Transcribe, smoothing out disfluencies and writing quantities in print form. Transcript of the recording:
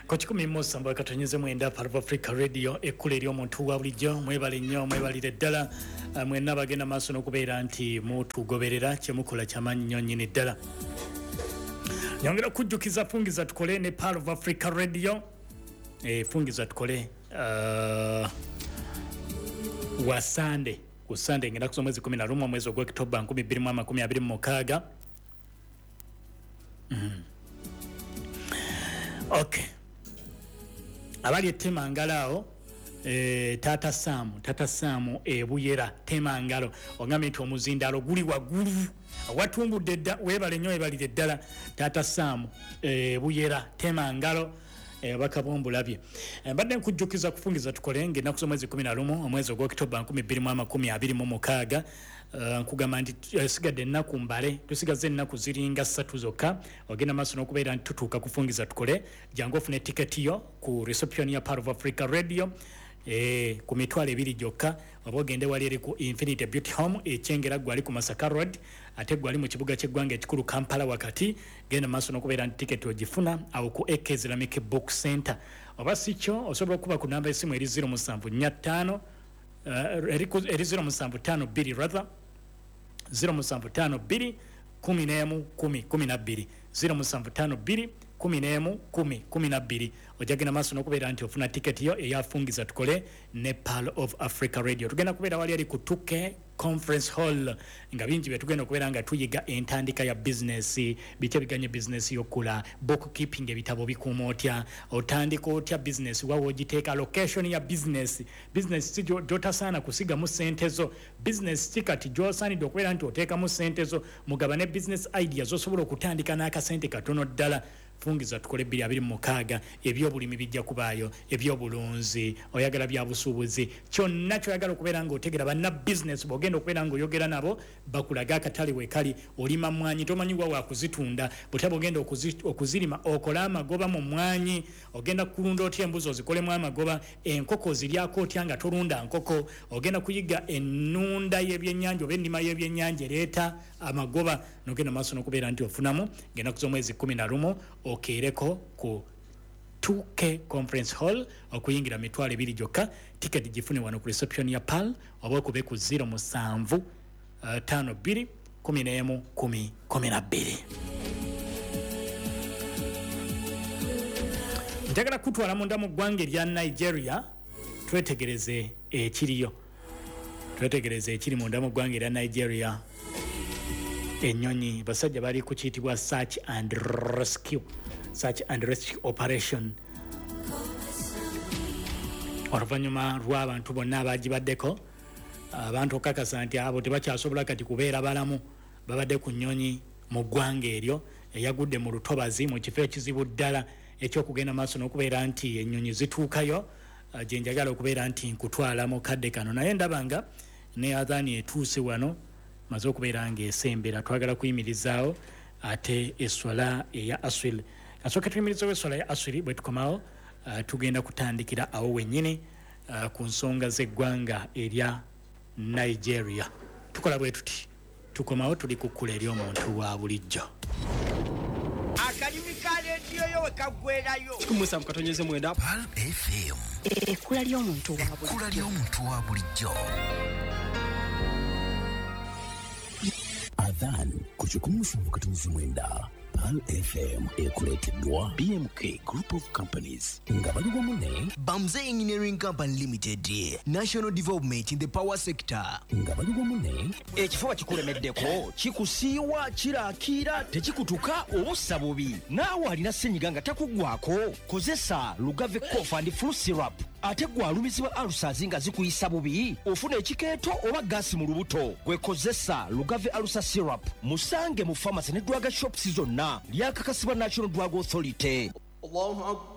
Ku 107.9 Pearl of Africa Radio, ekkula eri omuntu wa bulijjo. Mwebale nnyo, mwebalire ddala mwenna bagenda maaso n'okubeera nti mutugoberera. Kyemukola kyamaanyi nnyo nnyini ddala. Nyongera okujjukiza Fungiza Tukole ne Pearl of Africa Radio. Fungiza Tukole wa Sande ku Sande, ngenda kusoma mwezi 11, omwezi ogw'Okitoba 2026. Okay, abali etemangalo awo, Taata Saamu, Taata Saamu ebuyera Temangalo, ogambye nti omuzindaalo guli waggulu watumbudde dda. Weebale nnyo, weebalire ddala Taata Saamu ebuyera Temangalo. Obubaka bwombulabye. Mbadde nkujjukiza kufungiza tukole ngaennaku z'omwezi 11, omwezi ogw'Okitoba 2026. Nkugamba nti sigadde ennaku mbale, tusigaze ennaku ziringa 3 zokka ogenda maaso n'okubeera nti tutuuka kufungiza tukole. Jangu ofune tiketi yo ku reception ya Pearl of Africa Radio ku 20,000 gyokka, oba ogende wali eri ku Infinity Beauty Home Ekyengera, gwali ku Masaka Road, ate gwali mu kibuga ky'eggwanga ekikulu Kampala wakati. Genda maaso n'okubeera nti tiketi ogifuna awo ku AK Islamic Book Center, oba si kyo osobola okuba ku namba esimu eri 0745, eri 0752, rather 0752 11 10 12, 0752 11 10 12. Ojja genda maaso n'okubeera nti ofuna tiketi yo eyafungiza tukole ne Pearl of Africa Radio. Tugenda kubeera wali eri ku 2K Conference Hall, nga bingi bye tugenda okubeera nga tuyiga: entandika ya bizinesi, biki ebiganye bizinesi yokula, bookkeeping, ebitabo bikuuma otya, otandika otya bizinesi, wawe ogiteeka, location ya bizinesi, bizinesi si gyotasaana kusigamu sente zo, bizinesi ki kati gyosaanidde okubeera nti oteekamu sente zo, mugabane business idea zosobola okutandika n'akasente katono ddala. Fungiza tukole 226. Ebyobulimi bijja kubaayo, ebyobulunzi, oyagala bya busuubuzi, kyonna kyoyagala okubeera nga otegera banna bizinesi bwogenda okubeera nga oyogera nabo bakulaga akatale wekali. Olima mwanyi, tomanyi wa wakuzitunda, butya bwogenda okuzirima okole amagoba mu mwanyi, ogenda kulunda otya embuzi ozikolemu amagoba, enkoko oziryako otya nga tolunda nkoko, ogenda kuyiga ennunda y'ebyennyanja oba ennima y'ebyennyanja ereeta amagoba, nogenda maaso n'okubeera nti ofunamu. Ngenda kuza omwezi 11, okeereko ku 2K Conference Hall. Okuyingira 20,000 gyokka. Tiketi gifune wano ku reception ya Pearl, oba okube ku 07 52 11 10 12. Njagala kutwala munda mu ggwanga erya Nigeria, twetegereze ekiriyo, twetegereze ekiri munda mu ggwanga erya Nigeria. Ennyonyi, basajja bali ku kiyitibwa search and rescue, search and rescue operation, oluvannyuma lw'abantu bonna abagibaddeko, abantu okakasa nti abo tebakyasobola kati kubeera balamu, babadde ku nnyonyi mu ggwanga eryo eyagudde mu lutobazi, mu kifo ekizibu ddala ekyokugenda maaso n'okubeera nti ennyonyi zituukayo. Gye njagala okubeera nti nkutwala mu kadde kano, naye ndaba nga ne adhani etuuse wano, maze okubeera ng'esembera. Twagala kuyimirizaawo ate eswala eya aswil. Kasooke tuyimirizewo eswala ya aswiri. Bwe tukomawo, tugenda kutandikira awo wennyini ku nsonga z'eggwanga erya Nigeria. Tukola bwe tuti, tukomawo, tuli ku kkula eri omuntu wa bulijjo. Akalimi ka rediyo yo we kaggwerayo. 107.9. Pearl FM. Ekkula ly'omuntu wa Ekkula bulijjo. ly'omuntu wa bulijjo. Adhan ku 107.9 Pearl FM ekuleeteddwa BMK Group of Companies nga bali wamu ne Bamze Engineering Company Limited, National Development in the Power Sector. Nga bali wamu ne Ekifuba kikulemeddeko, kikusiiwa, kirakiira, tekikutuka oba ossa bubi. Naawe alina senyiga nga takuggwako, kozesa Lugave Cough and Flu Syrup. Ate gwe alumizibwa ulcers nga zikuyisa bubi, ofuna ekikeeto oba gaasi mu lubuto, gwe kozesa Lugave Ulcer Syrup. Musange mu pharmacy ne drug shops zonna. Lyakakasibwa National Drug Authority.